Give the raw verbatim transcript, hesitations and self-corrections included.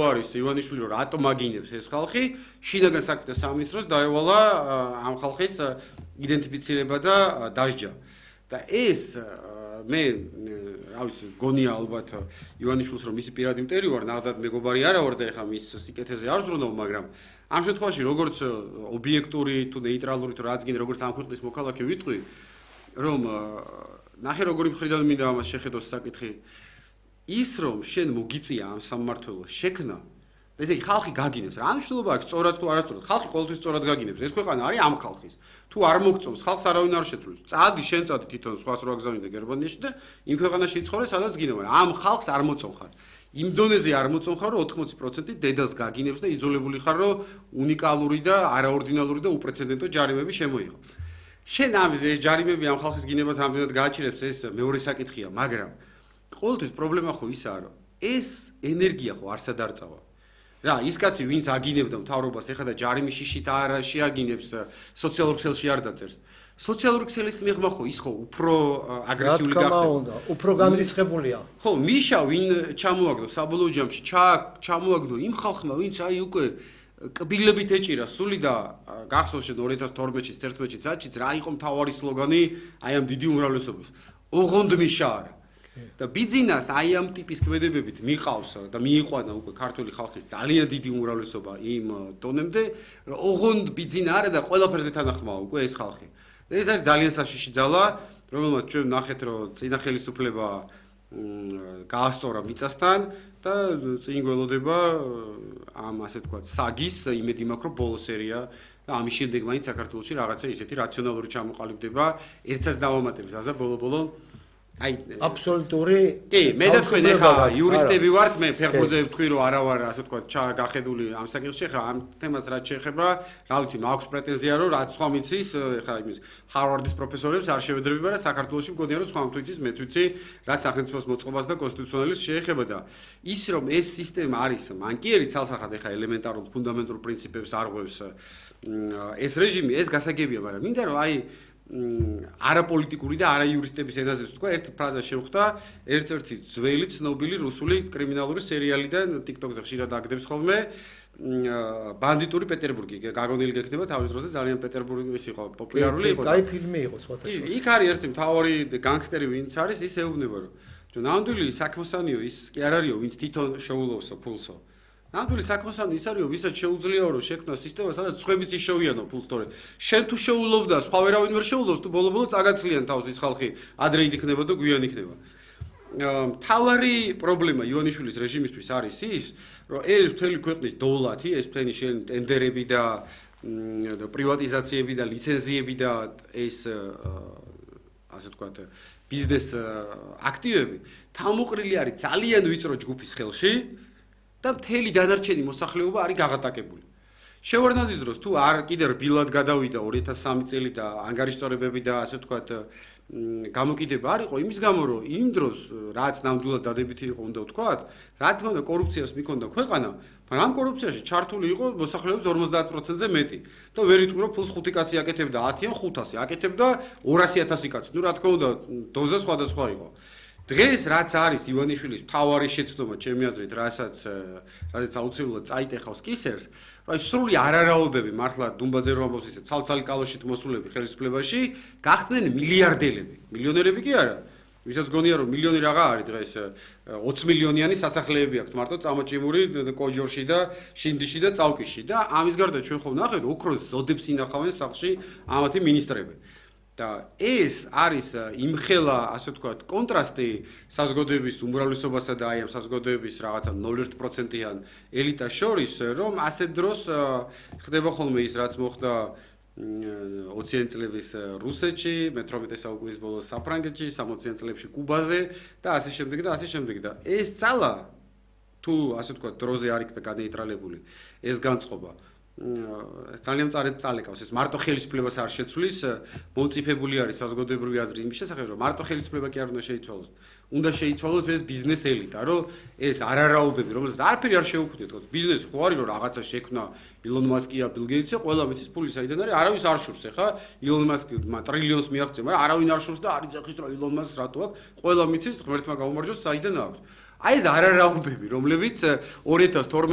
არის ივანიშვილი რომ რატომ აგინებს ეს ხალხი შინაგან საქმეთა სამინისტროს დაევალა ამ ხალხის იდენტიფიცირება და დასჯა და ეს მე რა ვიცი გონია ალბათ ივანიშვილს რომ მისი პირადი მტერი ვარ ნახდათ მეგობარი არა ვარ და ეხა მის სიკეთეზე არ ზრუნავ მაგრამ ამ შემთხვევაში როგორც ობიექტური თუ ნეიტრალური თუ რაც გინდა როგორც ამ ქვეყნის მოქალაქე ვიტყვი რომ ნახე როგორი მხრიდან მინდა ამას შეხედოს საკითხი ის რომ შენ მოგიწია ამ სამმართველოს შექმნა ესე იგი ხალხი გაგინებს რა მნიშვნელობა აქვს სწორად თუ არასწორად ხალხი ყოველთვის სწორად გაგინებს ეს ქვეყანა არის ამ ხალხის თუ არ მოგწონს ხალხს არავინ არ შეცვლის წადი შენ წადი თვითონ სხვას რო აგზავნი და გერმანიაში და იმ ქვეყანაში იცხოვრე სადაც გინდა მაგრამ ამ ხალხს არ მოწონხარ იმ დონეზე არ მოწონხარ რომ ოთხმოცი პროცენტი დედას გაგინებს და იძულებული ხარ რომ უნიკალური და არაორდინალური და უპრეცედენტო ჯარიმები შემოიღო შენ ამის ეს ჯარიმები ამ ხალხის გინებას რამდენად გააჩერებს ეს მეორე საკითხია მაგრამ ყოველთვის პრობლემა ხო ისაა რომ ეს ენერგია ხო არსად არ წავა რა ის კაცი ვინც აგინებდა მთავრობას ეხლა და ჯარიმის შიშით არ შეაგინებს სოციალურ ქსელში არ დაწერს სოციალური ქსელის მიღმა ხო ის ხო უფრო აგრესიული გახდება უფრო განრისხებულია ხო მიშა ვინ ჩამოაგდო საბოლოო ჯამში ჩამოაგდო იმ ხალხმა ვინც აი უკვე კბილებით ეჭირა სული და გახსოვს შენ ორი ათას თორმეტში წელიწადში წაჭიც რა იყო მთავარი სლოგანი აი ამ დიდი უმრავლესობის ოღონდ მიშა არა და ბიძინას აი ამ ტიპის ქმედებებით მიყავს და მიიყვანა უკვე ქართული ხალხის ძალიან დიდი უმრავლესობა იმ დონემდე რომ ოღონდ ბიძინა არა და ყველაფერზე თანახმაა უკვე ეს ხალხი და ეს არის ძალიან საშიში ძალა რომელმაც ჩვენ ნახეთ რომ წინა ხელისუფლება გაასწორა მიწასთან და წინ გველოდება ამ ასე თქვა საგის იმედი მაქვს რომ ბოლო სერია და ამის შემდეგ მაინც საქართველოში რაღაცა ისეთი რაციონალური ჩამოყალიბდება ერთსაც დავამატებს აზა ბოლო-ბოლო აი აბსოლუტური კი მე და თქვენ ეხლა იურისტები ვართ მე ფეხბურთზე ვთქვი რომ არა ვარ ასე თქვა ჩაგახედული ამ საკითხში ხა ამ თემას რაც შეეხება რა ვიცი მაქვს პრეტენზია რომ რაც სხვა მიცის ხა იმის ჰარვარდის პროფესორებს არ შევედრები მაგრამ საქართველოში მგონია რომ სხვა მთვიცის მეც ვიცი რაც სახელმწიფოს მოწყობას და კონსტიტუციონალის შეეხება და ის რომ ეს სისტემა არის მანკიერი ცალსახად ეხა ელემენტარულ ფუნდამენტურ პრინციპებს არღვევს ეს რეჟიმი ეს გასაგებია მაგრამ მინდა რომ აი არაპოლიტიკური და არაიურისტების ენაზე ვთქვა ერთ ფრაზას შევხვდა ერთ-ერთი ძველი ცნობილი რუსული კრიმინალური სერიალიდან TikTok-ზე ხშირად აგდებს ხოლმე ბანდიტური პეტერბურგი გაგონილი გექნება თავის დროზე ძალიან პეტერბურგის იყო პოპულარული იყო კაი ფილმი იყო სხვათა შორის იქ არის ერთი მთავარი განგსტერი ვინც არის ის ეუბნება რომ ნამდვილი საქმოსანიო ის კი არ არისო ვინც თვითონ შეულოვსო ფულსო ნამდვილი საქმოსანი ის არისო ვისაც შეუძლიაო რომ შექმნა სისტემა სადაც სხვებიც ისშოვიანო ფულს თორე შენ თუ შეულოვ და სხვა ვერავინ ვერ შეულოვს თუ ბოლო-ბოლო წაგაცლიან თავს ის ხალხი ადრე იქნება და გვიან იქნება მთავარი პრობლემა ივანიშვილის რეჟიმისთვის არის ის რომ ეს მთელი ქვეყნის დოვლათი ეს მთელი შენ ტენდერები და პრივატიზაციები და ლიცენზიები და ეს ასე ვთქვათ ბიზნეს აქტივები თავმოყრილი არის ძალიან ვიწრო ჯგუფის ხელში და მთელი დანარჩენი მოსახლეობა არის გაღატაკებული. შევარდნაძის დროს თუ არ კიდე რბილად გადავიდა ორი ათას სამი წელი და ანგარიშწორებები და ასე ვთქვათ გამოკიდება არ იყო იმის გამო რომ იმ დროს რაც ნამდვილად დადებითი იყო უნდა ვთქვათ რა თქმა უნდა კორუფციას მიქონდა ქვეყანა მაგრამ ამ კორუფციაში ჩართული იყო მოსახლეობის ორმოცდაათ პროცენტზე მეტი და ვერ იტყვი რომ ფულს ხუთი კაცი აკეთებდა ათი ან ხუთასი აკეთებდა ორასი ათასი კაცი ნუ რა თქმა უნდა დოზა სხვადასხვა იყო დღეს რაც არის ივანიშვილის მთავარი შეცდომა ჩემი აზრით რასაც რადგან აუცილებლად წაიტეხავს კისერს აი სრული არარაობები მართლა დუმბაძე რომ ამბობს ისე ცალ-ცალი კალოშით მოსულები ხელისუფლებაში გახდნენ მილიარდელები მილიონერები კი არა ვისაც გონია რომ მილიონი რაღა არის დღეს ოცი მილიონიანი სასახლეები აქვს მარტო წამოჭიმური კოჯორში და შინდიში და წავკიში და ამის გარდა ჩვენ ხომ ნახეთ ოქროს ზოდებს ინახავენ სახლში ამათი მინისტრები და ეს არის იმხელა ასე ვთქვათ კონტრასტი საზოგადოების უმრავლესობასა და აი ამ საზოგადოების რაღაცა ნული ერთი პროცენტიან ელიტას შორის რომ ასე დროს ხდება ხოლმე ის რაც მოხდა ოციანი წლების რუსეთში მეთორმეტე საუკუნის ბოლოს საფრანგეთში სამოციან წლებში კუბაზე და ასე შემდეგ და ასე შემდეგ და ეს ძალა თუ ასე ვთქვათ დროზე არ იქნა განეიტრალებული ეს განწყობა ძალიან მწარედ წალეკავს ეს მარტო ხელისუფლებას არ შეცვლის მომწიფებული არის საზოგადოებრივი აზრი იმის შესახებ რომ მარტო ხელისუფლება კი არ უნდა შეიცვალოს უნდა შეიცვალოს ეს ბიზნეს ელიტა რომ ეს არარაობები რომელსაც არაფერი არ შეუქმნიათ თქო ბიზნესი ხო არის რომ რაღაცა შექმნა ილონ მასკია ბილ გეიტსი ყველა მის ფული საიდან არის არავის არ შურს ახლა ილონ მასკი ტრილიონს მიაღწია მაგრამ არავინ არ შურს და არ იძახის რომ ილონ მასკს რატო აქვს ყველა მიცის ღმერთმა გაუმარჯოს საიდან აქვს აი ეს არარაობები, რომლებიც ორი ათას თორმეტი